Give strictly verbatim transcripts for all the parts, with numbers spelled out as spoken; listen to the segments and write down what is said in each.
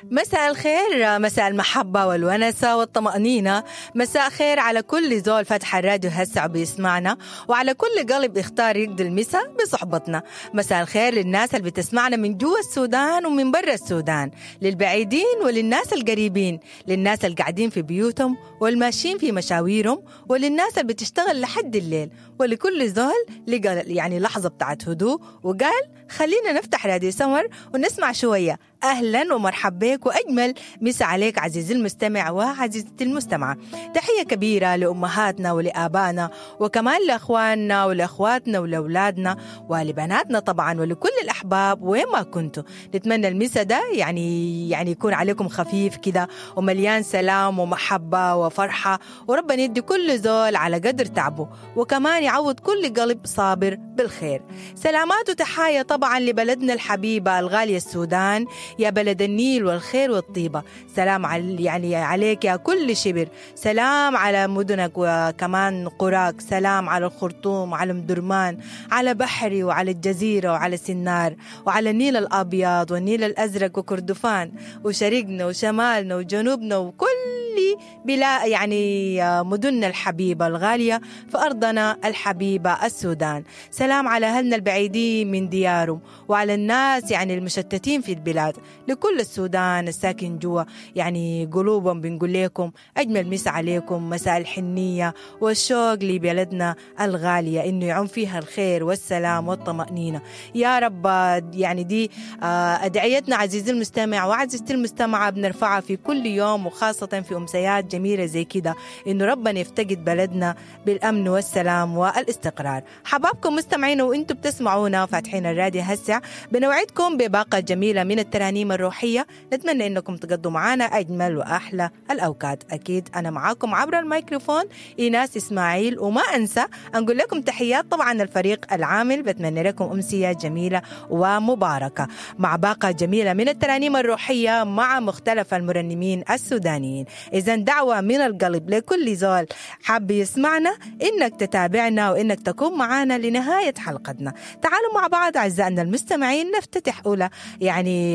مساء الخير، مساء المحبة والونسة والطمأنينة. مساء خير على كل زول فتح الراديو هسع بيسمعنا، وعلى كل قلب اختار يقضي المساء بصحبتنا. مساء الخير للناس اللي بتسمعنا من جوا السودان ومن برا السودان، للبعيدين وللناس القريبين، للناس اللي قاعدين في بيوتهم والماشيين في مشاويرهم، وللناس اللي بتشتغل لحد الليل، ولكل زول لقى يعني لحظة بتاعت هدوء وقال خلينا نفتح راديو سمر ونسمع شوية. أهلا ومرحبا بك وأجمل مسا عليك عزيزي المستمع وعزيزتي المستمعة. تحية كبيرة لأمهاتنا ولآبائنا، وكمان لأخواننا ولأخواتنا ولأولادنا ولبناتنا طبعا، ولكل الأحباب وين ما كنتوا. نتمنى المسا ده يعني يعني يكون عليكم خفيف كده ومليان سلام ومحبة وفرحة، وربنا يدي كل زول على قدر تعبه، وكمان يعوض كل قلب صابر بالخير. سلامات وتحايا طبعا لبلدنا الحبيبة الغالية السودان، يا بلد النيل والخير والطيبة. سلام على يعني عليك يا كل شبر، سلام على مدنك وكمان قراك، سلام على الخرطوم وعلى مدرمان، على بحري وعلى الجزيرة وعلى سنار وعلى النيل الأبيض والنيل الأزرق وكردفان وشرقنا وشمالنا وجنوبنا وكل بلا يعني مدننا الحبيبة الغالية في أرضنا الحبيبة السودان. سلام على أهلنا البعيدين من ديارهم وعلى الناس يعني المشتتين في البلاد، لكل السودان الساكن جوا يعني قلوبهم. بنقول لكم أجمل مسا عليكم، مساء الحنية والشوق لبلدنا الغالية، إنه يعم فيها الخير والسلام والطمأنينة يا رب. يعني دي أدعيتنا عزيزي المستمع وعزيزتي المستمعة، بنرفعها في كل يوم وخاصة في أمسيات جميلة زي كده، إنه ربنا يفتقد بلدنا بالأمن والسلام والاستقرار. حبابكم مستمعين وإنتم بتسمعونا فاتحين الراديو هسع، بنوعدكم بباقة جميلة من الترانيم الروحية، نتمنى إنكم تقضوا معنا أجمل وأحلى الأوقات. أكيد أنا معاكم عبر الميكروفون إيناس إسماعيل، وما أنسى أنقول لكم تحيات طبعا الفريق العامل. بتمنى لكم أمسية جميلة ومباركة مع باقة جميلة من الترانيم الروحية مع مختلف المرنمين السودانيين. إذا دعوة من القلب لكل زول حاب يسمعنا إنك تتابعنا وإنك تكون معنا لنهاية حلقتنا. تعالوا مع بعض أعزائنا المستمعين نفتتح أولى يعني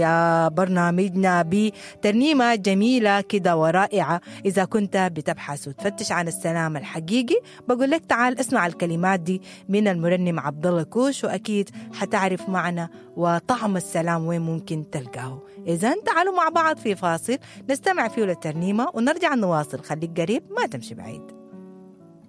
برنامجنا بترنيمة جميلة كده ورائعة. إذا كنت بتبحث وتفتش عن السلام الحقيقي بقول لك تعال اسمع الكلمات دي من المرنم عبد الله كوش، وأكيد حتعرف معنى وطعم السلام وين ممكن تلقاه. إذا تعالوا مع بعض في فاصل نستمع فيه للترنيمة ونرجع نواصل. خليك قريب ما تمشي بعيد.